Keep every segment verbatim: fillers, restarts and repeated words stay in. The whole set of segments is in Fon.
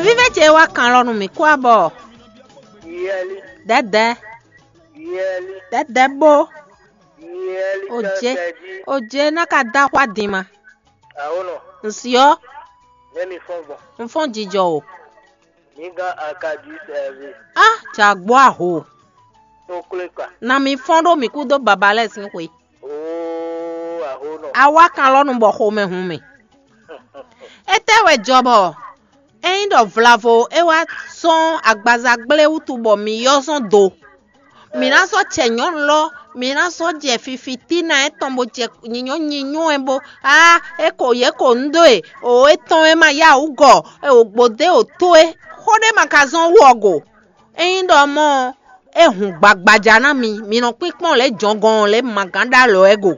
Vívɛ ce wá kan lɔ nú mì kú abɔ. Yɛli, dɛdɛ, yɛli, dɛdɛ bó. Yɛli. O jé, kɛkɛ jí. O jé ná ka dá xwá din ma. Awo nɔ. Nsiɔ. Nɛ mi fɔn gbɔn. N fɔn jijɔ o. Mi gán akadi sɛvi. Ah, jagbo aho. Tó klé kpa. Na mi fɔn ɖó mi kú dó baba lɛ sín xwe. Oo, aho nɔ. Awa kan lɔ nu bɔ xomɛ hun mi. Etɛ́ wɛ jɔ bɔ ényí ɖɔ vlavo é wá sɔ́n agbaza gblé wútu bɔ mi yɔ́ zɔn do, mǐ ná sɔ́ cɛ nyɔ̌nu lɔ, mǐ ná sɔ́ jɛ fifitína étɔn bó jɛ nyinyo nyinyo ɛ bó á é ko yě ko nú dó e o étɔn e ma yá wǔ gɔ e o gbǒdé o tó é. Xó ɖé ma ka zɔ́n wú ɔ go. Ényí ɖɔ mɔ̌ ɔ́, é hun gbagbaja ná mi, mi nɔ kpínkpɔ́n lě jɔngɔn lě ma gán ɖó alɔ ɛ go.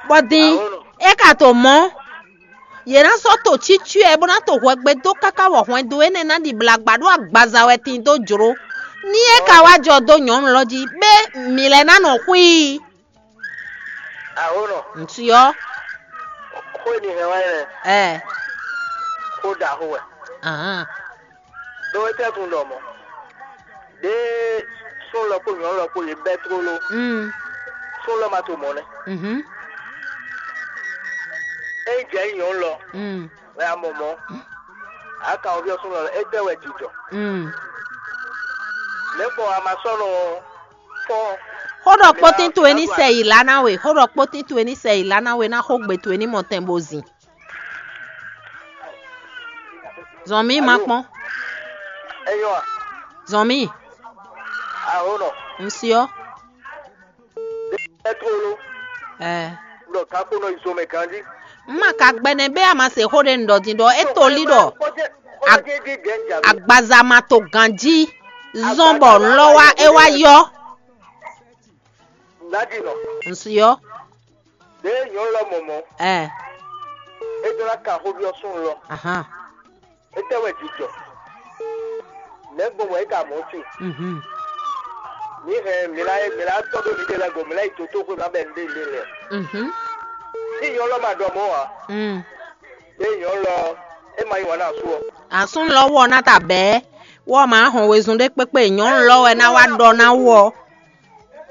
Bɔ din é ka to mɔ̌, yě ná sɔ́ to cyɔ́cyɔ́ ɛ bó ná to hwɛgbe dó káká wɔ hwɛndo énɛ́ ná ɖi blagba ɖó agbaza wɛ tin dó jló. Ní é ka wá jɔ dó nyɔ̌nu lɔ jí, bɛ́ mǐ lɛ́ ná nɔ xwí i. Awo nɔ. Ntsuɔ. Xó e mi hɛn wá nyɛ. Ɛ. Xó ɖaxó wɛ. Ahán. Ɖó é tɛ́ tun ɖɔ mɔ̌. Ɖěe súnnu lɔ kpó nyɔ̌nu lɔ kpó yě bɛ́ tlóló. Mm. Súnnu lɔ ma to mɔ̌ nɛ́. Mhm. Ényí jɛ nyí nyɔ̌nu lɔ, Mm. wɛ a mɔ mɔ̌. A kan xó byɔ́ súnnu lɔ, étɛ́ wɛ jǐ jɔ? Mm. Lě gbɔn a ma sɔ́ nɔ fɔ́n. Xó ɖɔ kpótín towe ní sɛ yi lá ná we. Xó ɖɔ kpótín towe ní sɛ yi lá ná we ná xó gbe towe ní mɔ tɛn bo zin. Zɔn mì má kpɔ́n. Enyɔ a? Zɔn mì. Aho nɔ. Nsiɔ. Ɛtrolo. Ɛ. Ɖɔ kakpo nɔ yi zomɛ ganji. Má ka gbɛnɛ bɛ a ma se xó ɖe ŋɖɔ din ɖɔ é to lí ɖɔ agbaza ma to ganji zɔn bɔ nlɔ wa é wá yɔ. Nadi nɔ. Nsiɔ. Ɖe nyɔnu lɔ mɔmɔ. Ɛ. É ɖó ná ka xó byɔ́ súnnu lɔ. Ahan. Étɛ́ wɛ jǐ jɔ? Nɛ̌ gbɔn wɛ é ka mɔ̌ sin? Mhm. Mǐ hɛn mǐ lá mǐ lá tɔ́ ɖó mǐɖée lɛ́ɛ go, mǐ lá yi dotóxwé ma bɛ nǔɖé lě lɛ́ɛ. Mhm. Ní nyɔ̌nu lɔ ma ɖɔ mɔ̌ ǎ. Mm. Ée nyɔ̌nu lɔ é ma yí wǎn nú asú ɔ́. Asú lɔ wɔ ná ta bɛ̌, wɔ ma hɔn wezun ɖé kpékpé nyɔ̌nu lɔ wɛ ná wá ɖɔ ná wɔ.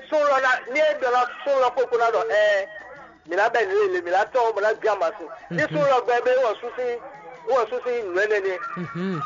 Súnnu lɔ ná ní é ɖɔ ná súnnu lɔ kpókpó ná ɖɔ ɛɛ, mǐ ná bɛ nǔ lélẹ̀, mǐ ná tɔ́n bɔ ná gbé amasin. Ní súnnu lɔ gbɛ bɛ wɔ sú sín wɔ sú sín nǔ énɛ́ nɛ́. Mhm.